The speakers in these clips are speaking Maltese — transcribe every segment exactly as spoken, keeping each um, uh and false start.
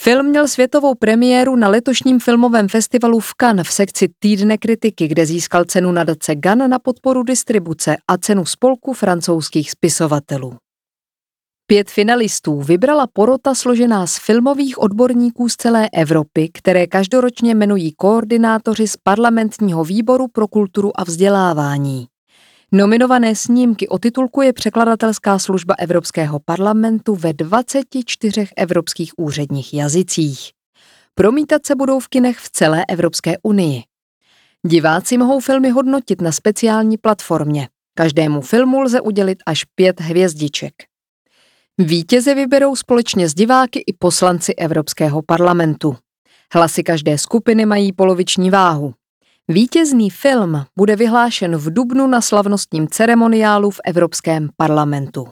Film měl světovou premiéru na letošním filmovém festivalu v Cannes v sekci Týdne kritiky, kde získal cenu nadace Gunn na podporu distribuce a cenu spolku francouzských spisovatelů. Pět finalistů vybrala porota složená z filmových odborníků z celé Evropy, které každoročně jmenují koordinátoři z parlamentního výboru pro kulturu a vzdělávání. Nominované snímky otitulkuje překladatelská služba Evropského parlamentu ve dvaceti čtyřech evropských úředních jazycích. Promítat se budou v kinech v celé Evropské unii. Diváci mohou filmy hodnotit na speciální platformě. Každému filmu lze udělit až pět hvězdiček. Vítěze vyberou společně s diváky i poslanci Evropského parlamentu. Hlasy každé skupiny mají poloviční váhu. Vítězný film bude vyhlášen v dubnu na slavnostním ceremoniálu v Evropském parlamentu.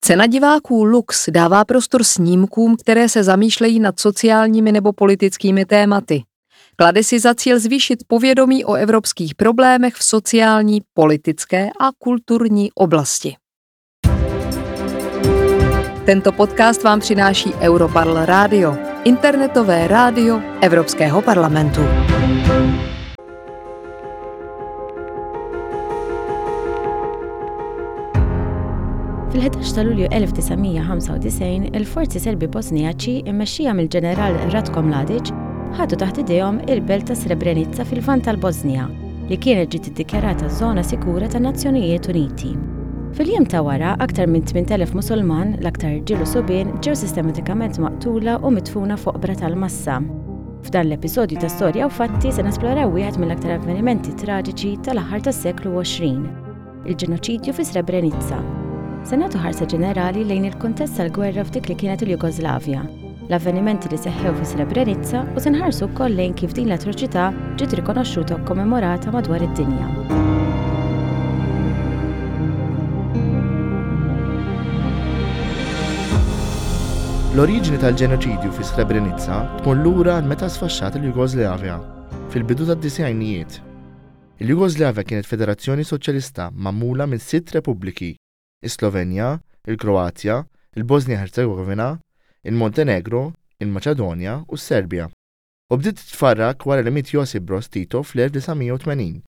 Cena diváků Lux dává prostor snímkům, které se zamýšlejí nad sociálními nebo politickými tématy. Klade si za cíl zvýšit povědomí o evropských problémech v sociální, politické a kulturní oblasti. Tento podcast vám přináší Europarl Radio, internetové rádio Evropského parlamentu. Fil-ħdax ta' Lulju elf disa' mija ħamsa u disgħin, il-forzi Serbi Bosnijaċi immexxija mill-ġeneral Ratko Mladic ħadu taħt idejhom il-belt ta' Srebrenica fil-Lvant tal-Bosnija, li kienet ġiet iddikjarata żona sikura tan-Nazzjonijiet Uniti. Fil-jiem ta' wara, aktar minn tmint elef Musulman, l-aktar irġiel u subien, ġew sistematikament maqtula u midfuna fuq oqbra tal-massa. F'dan l-episodju ta' Storja u Fatti se nesploraw wieħed mill-aktar avvenimenti traġiċi tal-aħħar tas-seklu għoxrin, il-ġenoċidju fi Srebrenica. Se nagħtu ħarsa ġenerali lejn il-kuntest tal-gwerra f'dik li kienet il-Jugoslavja, l-avvenimenti li seħħew fi Srebrenica u se nħarsu wkoll lejn kif din l-atroċità ġiet rikonoxxuta u kommemorata madwar id-dinja. L-oriġini tal-ġenoċidju fi Srebrenica tmur lura għal meta sfaxxat il-Jugoslavja fil-bidu tad-disgħinijiet. Il-Jugoslavja kienet federazzjoni soċjalista magħmula minn sitt repubbliki: is-Slovenja, il-Kroazja, il-Bosnia-Herzegovina, il-Montenegro, il-Maċedonja u s-Serbja. U bdiet titfarrak wara li miet Josip Broz Tito fl-elf disa' mija u tmenin,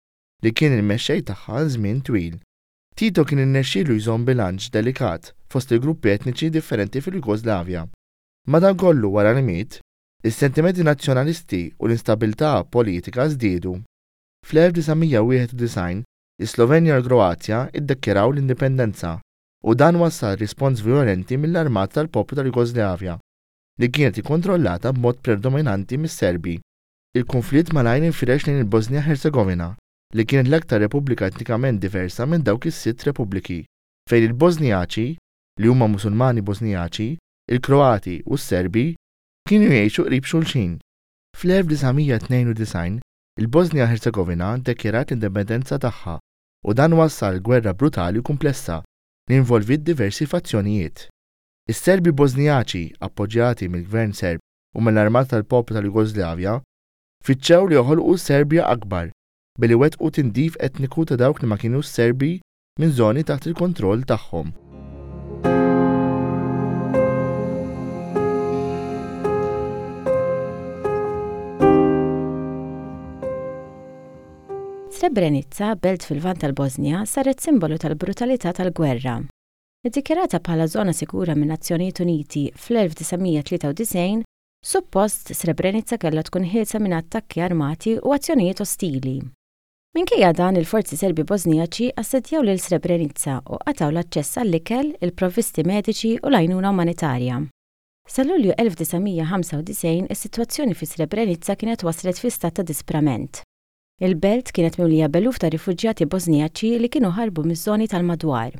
li kien il-mexxej tagħha għal żmien twil. Tito kien irnexxielu jżomm bilanċ delikat fost il-gruppi etniċi differenti fil-Jugoslavja. Madankollu wara li miet, is-sentimenti nazzjonalisti u l-instabilità politika żdiedu. Fl-elf disa' mija u wieħed u disgħin, is-Slovenja u l-Kroazja iddikjaraw l-indipendenza u dan wassal rispons violenti mill-Armata tal-Poplu tal-Jugoslavja, li kienet ikkontrollata b'mod predominanti mis-Serbi. Il-konflitt malajr infirex lejn il-Bosnia-Herzegovina, li kienet l-aktar repubblika etnikament diversa minn dawk is-sitt repubbliki, fejn il-Bosnijaċi, li huma Musulmani Bosnijaċi, il-Kroati u s-Serbi kienu jgħixu qrib xulxin. Fl-elf disa' mija tnejn u disgħin, il-Bosnia-Herzegovina ddikjarat l-indipendenza tagħha u dan wassal gwerra brutali u komplessa li involviet diversi fazzjonijiet. Is-Serbi Bosnijaċi, appoġġjati mill-Gvern Serb u mill-Armata tal-Poplu tal-Jugoslavja, fittxew li joħolqu Serbja akbar billi wettqu tindif etniku ta' dawk li ma kienux Serbi minn żoni taħt il-kontroll tagħhom. Srebrenica, belt fil-Lvant tal-Bosnja, saret simbolu tal-brutalità tal-gwerra. Iddikjarata bħala żona sikura minn Nazzjonijiet Uniti fl-elf disa' mija tlieta u disgħin, suppost Srebrenica kellha tkun ħielsa minn attakki armati u azzjonijiet ostili. Minkejja dan, il-forzi Serbi Bosnijaċi assedjaw lil Srebrenica u qatgħu l-aċċess għall-ikel, il-provvisti mediċi u l-għajnuna umanitarja. Sa Lulju elf disa' mija ħamsa u disgħin, is-sitwazzjoni fi Srebrenica kienet waslet fi stat ta' disprament. Il-belt kienet mimlija b'eluf ta' rifuġjati Bosnijaċi li kienu ħarbu miż-żoni tal-madwar.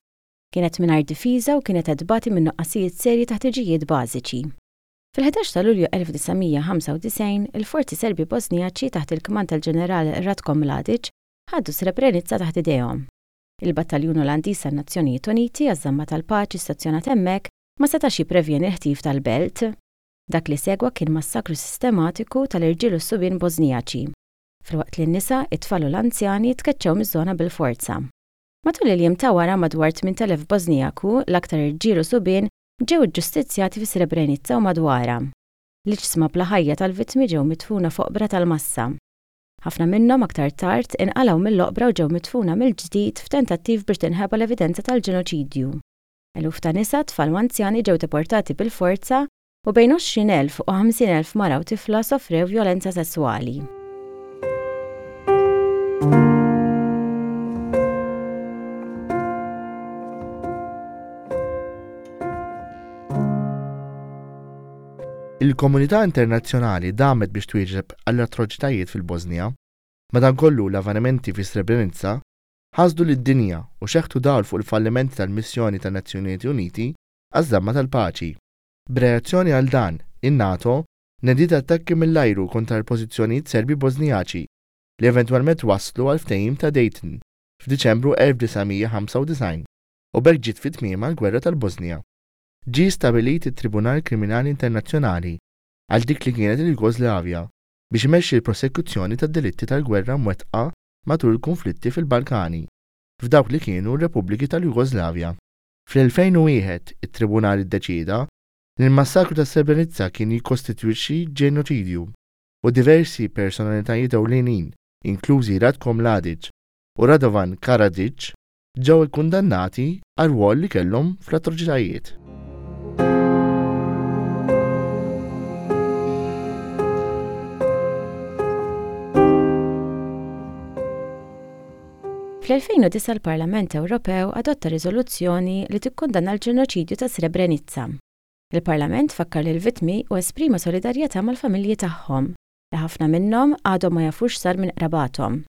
Kienet mingħajr difiża u kienet qed tbati minn nuqqasijiet serji ta' ħtiġijiet bażiċi. Fil-ħdax ta' Lulju elf disa' mija ħamsa u disgħin, il-forzi Serbi Bosnijaċi taħt il-kmand tal-ġeneral Ratko Mladic ħadu Srebrenica taħt idejhom. Il-Battaljun Olandiż tan-Nazzjonijiet Uniti għaż-żamma tal-paċi stazzjonat hemmhekk ma setax jipprevjeni l-ħtif tal-belt. Dak li segwa kien massakru sistematiku tal-irġiel u s-subien Bosnijaċi, filwaqt li n-nisa, it-tfal u l-anzjani tkeċċew miż-żona bil-forza. Matul il-jiem ta' wara madwar tmint elef Bosnijaku, l-aktar irġiel u subien, ġew iġġustizzjati fi Srebrenica u madwarha. L-iġsma bla ħajja tal-vittmi ġew midfuna f'oqbra tal-massa. Ħafna minnhom aktar tard inqalgħu mill-oqbra u ġew midfuna mill-ġdid f'tentattiv biex tinħeba l-evidenza tal-ġenoċidju. Eluf ta' nisa, tfal u anzjani ġew deportati bil-forza u bejn għoxrin elf u ħamsin elf mara u tifla sofrew vjolenza sesswali. Il-komunità internazzjonali damet biex twieġeb għall-atroċitajiet fil-Bosnija. Madankollu l-avvenimenti fi Srebrenica ħasdu lid-dinja u xeħtu dawl fuq il-fallimenti tal-missjoni tan-Nazzjonijiet Uniti għaż-żamma tal-paċi. B'reazzjoni għal dan, in-NATO nediet attakki mill-ajru kontra l-pożizzjonijiet Serbi Bosnijaċi li eventwalment waslu għal ftehim ta' Dayton f'Diċembru elf disa' mija ħamsa u disgħin u b'hekk ġiet fi tmiemha l-Gwerra tal-Bosnija. Ġie stabilit it-Tribunal Kriminali Internazzjonali għal dik li kienet il-Jugoslavja biex imexxi l-prosekuzzjoni tad-delitti tal-gwerra mwettqa matul il-konflitti fil-Balkani, f'dawk li kienu r-Repubbliki tal-Jugoslavja. Fl-elfejn u wieħed it-Tribunal iddeċieda li l-massakru ta' Srebrenica kien jikkostitwixxi ġenoċidju u diversi personalitajiet ewlenin, inklużi Ratko Mladic u Radovan Karadzic, ġew ikkundannati għal rwol li kellhom fl-atroċitajiet. Fl-elfejn u disgħa l-Parlament Ewropew adotta riżoluzzjoni li tikkundanna l-ġenoċidju ta' Srebrenica. Il-Parlament fakkar lil vittmi u esprima solidarjetà mal-familji tagħhom, li ħafna minnhom għadhom ma jafux sar minn qrabathom.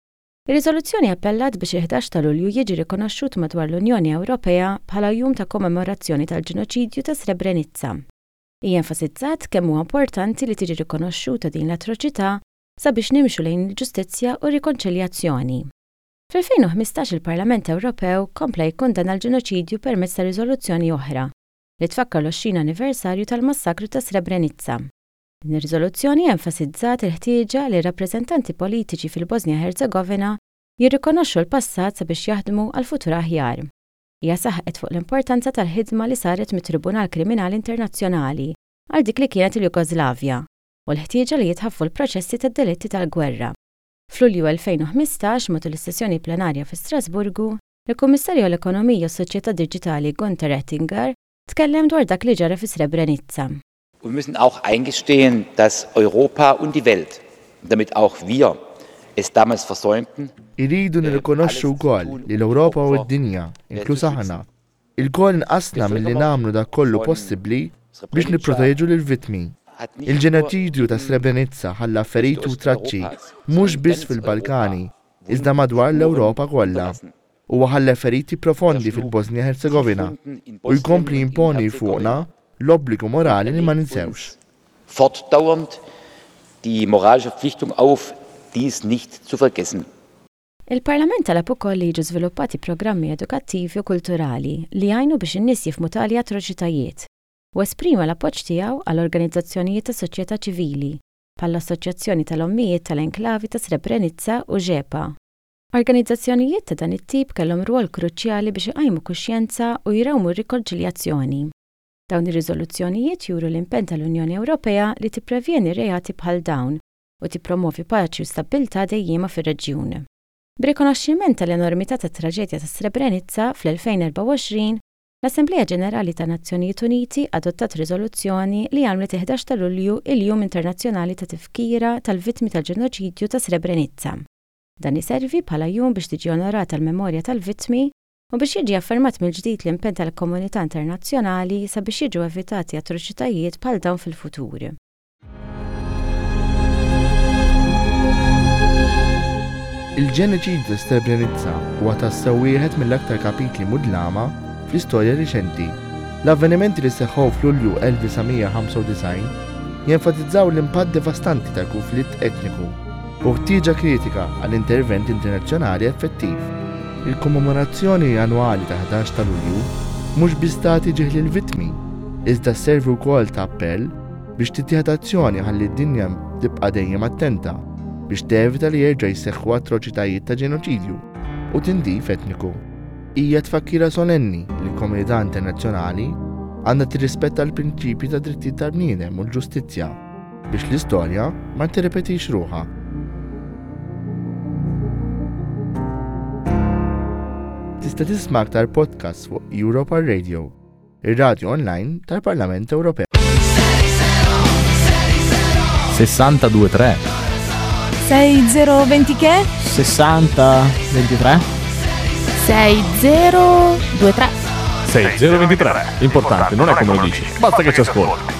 Ir-riżoluzzjoni appellat biex il-ħdax ta' Lulju jiġi rikonoxxut madwar l-Unjoni Ewropea bħala jum ta' kommemorazzjoni tal-ġenoċidju ta' Srebrenica. Hija enfasizzat kemm huwa importanti li tiġi rikonoxxuta din l-atroċità sabiex nimxu lejn il-ġustizzja u r-rikonċiljazzjoni. Fl-elfejn u ħmistax il-Parlament Ewropew kompla jikkundanna l-ġenoċidju permezz ta' riżoluzzjoni oħra li tfakkar l-għoxrin anniversarju tal-massakru ta' Srebrenica. Din ir-riżoluzzjoni enfasizzat il-ħtieġa li r-rappreżentanti politiċi fil-Bosnia Herzegovina jirrikonoxxu l-passat sabiex jaħdmu għal futur aħjar. Hija saħqet fuq l-importanza tal-ħidma li saret mit-Tribunal Kriminali Internazzjonali għal dik li kienet il-Jugoslavja u l-ħtieġa li jitħaffu l-proċessi tad-delitti tal-gwerra. F'Lulju elfejn u ħmistax, matul is-sessjoni plenarja fi Strasburgu, il-Kummissarju għall-Ekonomija u s-Soċjetà Diġitali Günther Oettinger tkellem dwar dak li ġara fi Srebrenica. Und wir müssen auch eingestehen, dass Europa und die Welt, und damit auch wir, es damals versäumten, Iridu nirrikonoxxu wkoll li l-Ewropa u d-dinja, inkluż aħna, ilkoll inqasna milli nagħmlu dak kollu possibbli biex nipproteġu lill-vittmi. Il-ġenoċidju ta' Srebrenica ħalla feriti u traċċi mhux biss fil-Balkani, iżda madwar l-Ewropa kollha. Huwa ħalla feriti profondi fil-Bosnia Herzegovina u jkompli jimponi fuqna l-obbligu morali li ma ninsewx. Fortdauernd die moralische Verpflichtung auf, dies nicht zu vergessen. Il-Parlament talab ukoll li jiġu żviluppati programmi edukattivi u kulturali li jgħinu biex in-nies jifhmu tali atroċitajiet u esprima l-appoġġ tiegħu għal organizzazzjonijiet ta' soċjetà ċivili bħall-Assoċjazzjoni tal-Ommijiet tal-Enklavi ta' Srebrenica u Žepa. Organizzazzjonijiet ta' dan it-tip kellhom rwol kruċjali biex iqajmu kuxjenza u jrawmu r-rikonċiljazzjoni. Dawn ir-riżoluzzjonijiet juru l-impenn tal-Unjoni Ewropea li tipprevjeni reati bħal dawn u tippromovi paċi u stabbiltà dejjiema fir-reġjun. B'rikonoxximent tal-enormità tat-traġedja ta' Srebrenica fl-elfejn erbgħa u għoxrin, l-Assemblea Ġenerali ta' Nazzjonijiet Uniti adottat riżoluzzjoni li għamlet il-ħdax ta' Lulju il-Jum Internazzjonali ta' Tifkira tal-Vittmi tal-Ġenoċidju ta' Srebrenica. Dan iservi bħala jum biex tiġi onorata l-memorja tal-vittmi u biex jiġi affermat mill-ġdid l-impenn tal-komunità internazzjonali sabiex jiġu evitati atroċitajiet bħal dawn fil-futur. Il-ġenoċidju ta' Srebrenica huwa tassew wieħed mill-aktar kapitli mudlama fl-istorja riċenti. L-avvenimenti li seħħew f'Lulju elf disa' mija ħamsa u disgħin jenfasizzaw l-impatt devastanti tal-konflitt etniku u ħtieġa kritika għall intervent internazzjonali effettiv. Il-kommemorazzjoni annwali ta' ħdax ta' Lulju mhux biss tagħti ġieħ lill-vittmi, iżda sservi wkoll ta' appell biex tittieħed azzjoni ħalli d-dinja tibqa' dejjem attenta biex tevita li jerġa' jseħħu atroċitajiet ta' ġenoċidju u tindif etniku. Hija tfakkira solenni li l-komunità internazzjonali għandha tirrispetta l-prinċipji ta' drittijiet tal-bniedem u l-ġustizzja biex l-istorja ma tirrepetix ruħha. Tista' tisma' aktar podcasts fuq Europa Radio, ir-radio online tal-Parlament Ewropew. sessantadue tre. sei zero venti che? sessanta ventitré. sei zero due tre. sei zero ventitré. L'importante non è come lo dici, basta che ci ascolti.